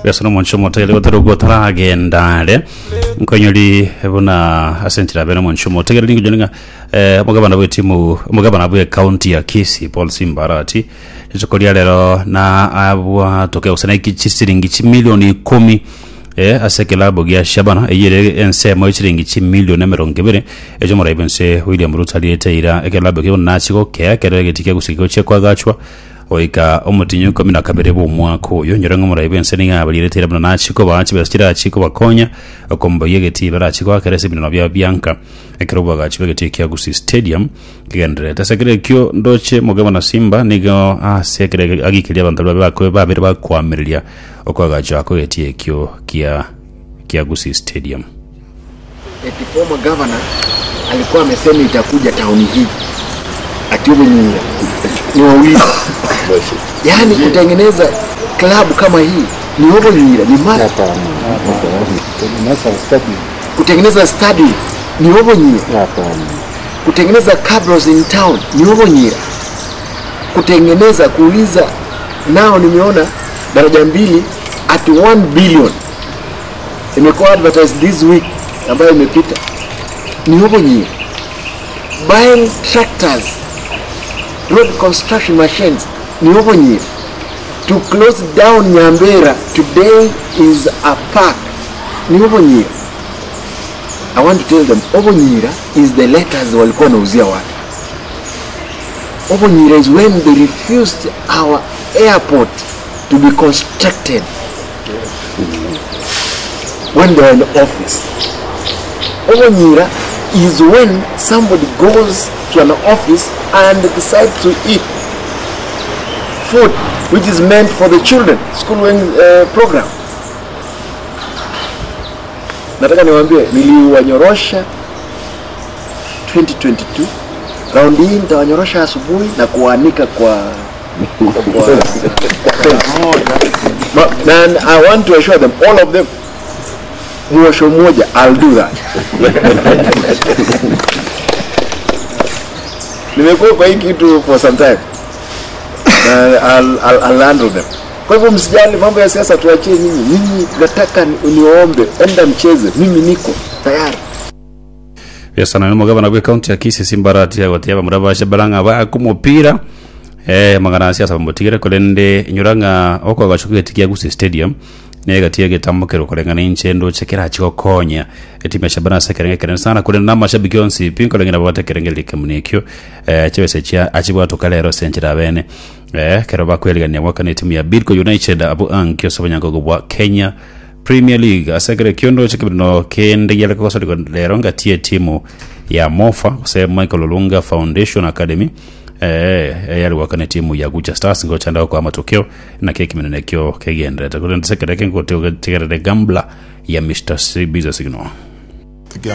Besa nomonche omotegere gotarogwa otaragenda are nkonyori buna ase enchera bene omonche omotegere ningo ng'a eh, omogabana bw'etimu omogabana bw'ekaunti ya Kisii Paul Simbarati rituko ria rero na abwatoke gose naiki chisiringi chimilioni ikomi eh, ase ekilabu gia Shabana eyio ere ensemo ye chiringi chimilioni emerongo ebere echo omorai bwense William Ruto ariete eira ekilabu ekio nachigokea ekero egeti kia Gusii gigochia koagachwa Goika omotienyi o ikomi na kabere bw'omwaka oyo, nyora ng'a omorai bw'ense nigo abarierete eira buna nachie kobaa chibesa chirachie kobakonya okomboyia egetii barachie goakera ase ebineno biabo bianka ekero oboagachi bw'egetii kia Gusii Stadium kegendererete. Ase ekero ekio ndoche Mugabo na Simba nigo ase ekero agikeria abanto baria babe babere bakoamereria okoagachwa kw'egetii ekio kia kia Gusii Stadium. Eti former governor alikuwa amesema itakuja town hii ati Obunyira ni wawili, yaani kutengeneza klabu kama hii ni Obunyira ni must. Kutengeneza stadium ni Obunyira, kutengeneza cabros in town ni Obunyira, kutengeneza kuuliza nao, nimeona daraja mbili at 1 billion imekuwa advertised this week ambayo imepita ni Obunyira buying tractors road construction machines ni Obunyira to close down Nyambera today is a park ni Obunyira I want to tell them Obunyira is the letters walikuwa wanauzia watu Obunyira is when they refused our airport to be constructed when they are in office. Obonyira is when somebody goes to an office and decides to eat food which is meant for the children school going program. Nataka niwaambie niliwanyorosha 2022 raundi hii nitawanyorosha asubuhi na kuwaanika kwa kwa, kwa fence. Ma, and I want to assure them all of them mwosho mmoja I'll do that. Nimekuwa kwa hii kitu for some time na I'll, I'll, I'll handle them. Kwa hivyo msijali mambo ya siasa, tuachie nyinyi. Nyinyi nataka niwaombe, enda mcheze, mimi niko tayari. Biasana nomogabana bw'ekaunti ya Kisii Simbarati agotebi abamura ba Shabala ng'a baake omopira eh, amang'ana ase ase bamotigere korende inyora ng'a okoagacha kw'egeti kia Gusii Stadium na egati y'egetambo kero koreng'ana inche ndoche kerache gokonya etimu ya Shabana ase ekerengo ekenene sana korende na amashabiki onsi pi nkoreng'ana babwate ekerengererio ekemo ekio eh, chibesa chia achibwatoka rero ase enchera abene eh, kero bakwerigania goakana etimu ya Bidco United abwo ankio ase obonyangogo bwa Kenya Premier League ase ekero ekio ndoche kebirino kende giare kogosorigwa rero ngati etimu ya Mofa gose Michael Olunga Foundation Academy eh, yare goakana etimu ya Gucha Stars ngochanda gokoa amatokeo naki ekimeneno ekio kegenderete korende ase ekero eke ngotegerere gambla ya Mr. C Busy Signal.